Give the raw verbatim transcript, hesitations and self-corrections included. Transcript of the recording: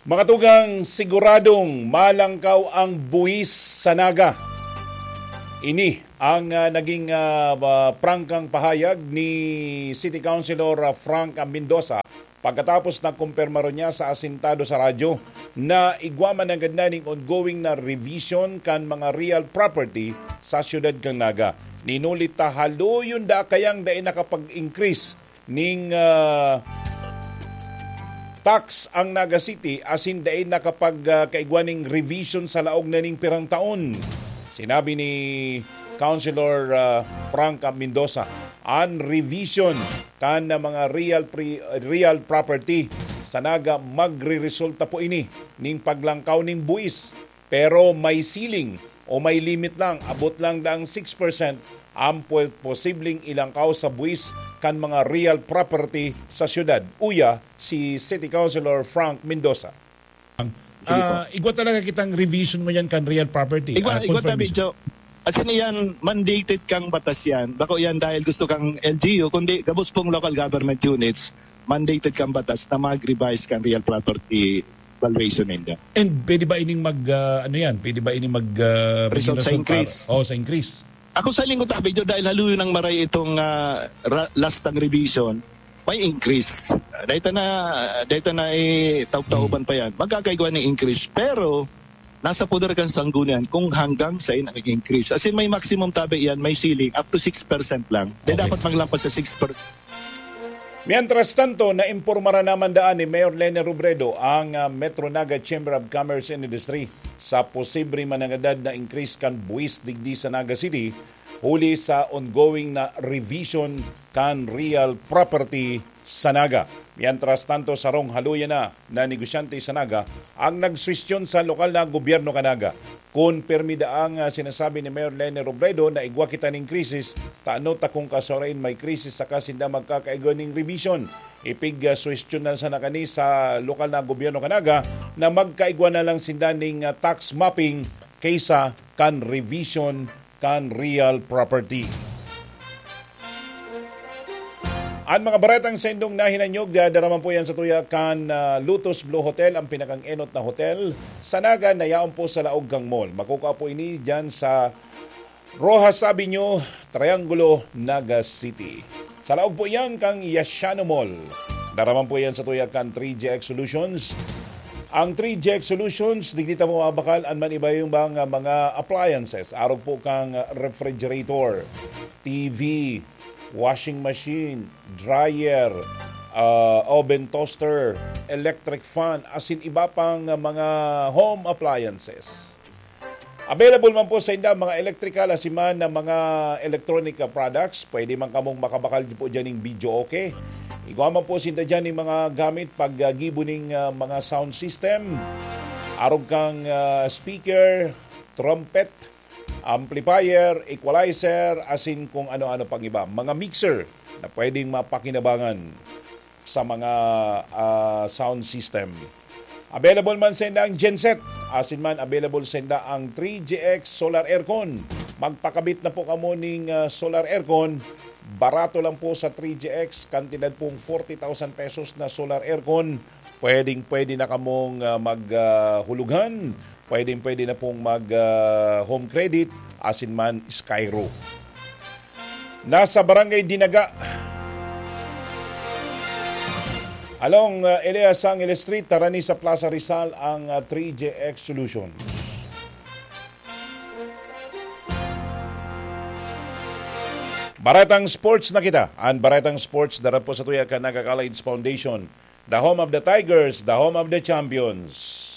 Makatugang siguradong malangkaw ang buwis sa Naga. Ini ang, ah, naging, ah, ba-, prangkang pahayag ni City Councilor, ah, Frank Mendoza pagkatapos na kumpirmaron niya sa asintado sa radyo na igwa man nanggad na ning ongoing na revision kan mga real property sa siyudad kan Naga. Ninulit ta haluyon da kayang dai nakapag-increase ning, ah, tax ang Naga City asin dai nakapag, ah, kaigwa ning revision sa laog na ning pirang taon. Sinabi ni Councilor, ah, Frank Mendoza, an revision kan mga real pre-, real property sa Naga magreresulta po ini ning paglangkaw ning buwis, pero may ceiling o may limit lang, abot lang daang six percent ang pwe-, posibleng ilangkaw sa buwis kan mga real property sa siyudad, uya si City Councilor Frank Mendoza. Sige po. Ah, igwa talaga kitang revision mo yan kan real property. Igwa, ah, igwa tabi, confirmation. Joe. As in, iyan, mandated kang batas yan. Bako yan dahil gusto kang L G U, kundi gabos pong local government units, mandated kang batas na mag-revise kang real property valuation ninyo. And pwede ba ining mag, ah, ano yan? Pwede ba ining mag, ah, Result sa maging increase. Oh, sa increase. Ako sa lingkod tabi nyo, dahil haluyon ng maray itong, ah, ra-, last ng revision, may increase. Dahil na, dahil na, eh, taub-tauban pa yan. Magkakaigwa ng increase. Pero, nasa poder kan sanggunian kung hanggang saan ang increase. As in, may maximum tabi yan, may ceiling, up to six percent lang. Dahil Okay. dapat maglampas sa six percent. Mientras tanto, naimpormaran naman daan ni Mayor Leni Robredo ang, ah, Metro Naga Chamber of Commerce and Industry sa posible manangadad na increase kan buwis digdi sa Naga City, huli sa ongoing na revision kan real property sa Naga. Mientras tanto, sarong haluyan na na negosyante sa Naga ang nagsuwestiyon sa lokal na gobyerno kan Naga. Kun pirmi daang, ah, sinasabi ni Mayor Leni Robredo na igwa kita ning krisis, tano ta kung kasurain may krisis saka sinda magkakaigwa ning revision. Ipig, ah, suwestiyon na sana kani sa lokal na gobyerno kan Naga na magkaigwa na lang sinda ning, ah, tax mapping kaysa kan revision kan real property. An mga baretang sendong nahinanyog, dara man po yan sa tuya kan, ah, Lotus Blue Hotel, ang pinakang enot na hotel sa Naga na yaon po sa laog kang mall. Makukuha po ini dyan sa Rojas Avenue, Triangulo, Naga City. Sa laog po yan kang Yasiano Mall. Dara man po yan sa tuya kan three G X Solutions. Ang three G X Solutions, digdi ta po mabakal an man iba yung mga, mga appliances. Arog po kang refrigerator, T V, washing machine, dryer, ah, oven toaster, electric fan, asin iba pang mga home appliances. Available man po sa inda mga electrical asin man na mga electronic, ah, products. Pwede man kamong makabakal po dyan ng video, okay? Igwa man po sinda dyan ng mga gamit pag, ah, gibo ning, ah, mga sound system. Arog kang, ah, speaker, trumpet, amplifier, equalizer, asin kung ano-ano pang iba. Mga mixer na pwedeng mapakinabangan sa mga, ah, sound system. Available man sa inda ang genset, asin man available sa inda ang three G X solar aircon. Magpakabit na po kamo ning, ah, solar aircon. Barato lang po sa three G X, kantidad pong forty thousand pesos na solar aircon. Pwedeng-pwede na kamong, ah, mag, ah, hulughan. Pwedeng-pwede na pong mag, ah, home credit, asin man Skyro. Nasa Barangay Dinaga, along, ah, Elias Angeles Street, Tarani sa Plaza Rizal ang, ah, three G X Solution. Baretang sports na kita. Ang baretang sports, dara po sa tuya kan Naga College Foundation. The home of the Tigers, the home of the champions.